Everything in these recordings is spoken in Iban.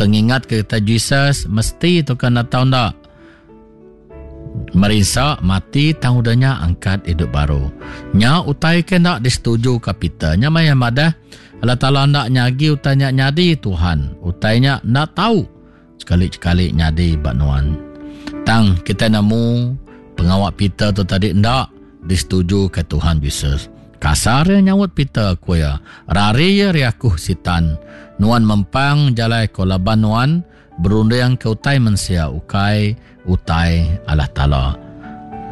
ke ngingat ke kita Jesus mesti tu ke enda tau enda merinsa mati tang udah nya angkat idup baru. Nya utai ke enda disetuju ka Peter. Nya maya madah Allah Taala enda nyagi utai nya nyadi Tuhan. Utai nya enda tau sekali-sekali nyadi ba nuan. Tang kitai nemu pengawa Peter tu tadi enda disetuju ke Tuhan Jesus. Kasar iya nyaut Peter ku iya, Rari iya ari aku, Sitan. Nuan mempang jalai aku laban nuan berunding ke utai mensia ukai utai Allah Taala.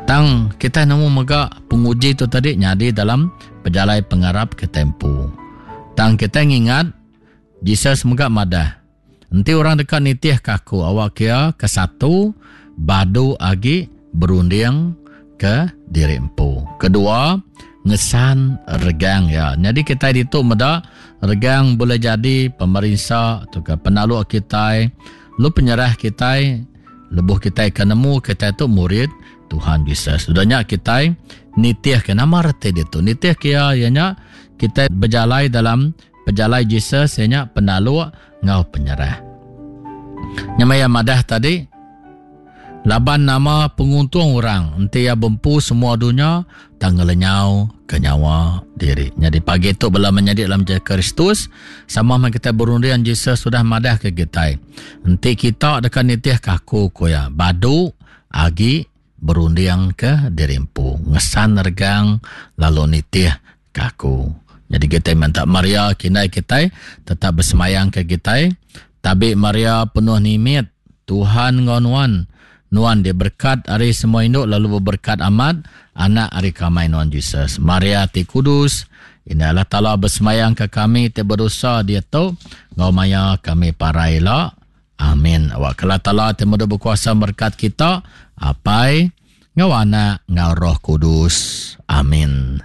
Tang kitai nemu mega penguji tu tadi nyadi dalam pejalai pengarap kitai empu. Tang kitai ngingat Jesus mega madah, Enti orang deka nitihka aku, awakka iya, kesatu, badu agi berunding ke diri empu. Kedua, ngesan regang iya. Nyadi kitai ditu meda regang bulih jadi pemerinsa tauka penaluk kitai lalu penyerah kitai lebuh kitai ke nemu kitai tu murid Tuhan Jesus. Udah nya kitai nitihka nama reti ditu. Nitihka iya iya nya kitai bejalai dalam Pejalai Jesus iya nya penaluk enggau penyerah. Nya meh iya madah tadi, Laban nama penguntung orang enti iya bempu semua dunya tang ngelenyau ke nyawa diri. Nyadi pagi tu bala menyadi dalam Jesus Kristus, sama meh kitai berunding Jesus udah madah ke kitai, enti kita deka nitihka aku ku iya, badu agi berunding ke diri empu, ngesan regang lalu nitih ke aku. Nyadi kitai minta Maria ke indai kitai tetap besemayang ke kitai. Tabi Maria penuh nimit, Tuhan enggau nuan. Nuan diberkat ari semua indu lalu beberkat amat anak ari kamai nuan Jesus. Maria ti kudus, Indai Allah Taala besemayang ke kami ti bedosa diatu enggau maya kami parai ila. Amin. Awakka Allah Taala ti medu bekuasa merekat kita, Apai, enggau Anak, enggau Roh Kudus. Amin.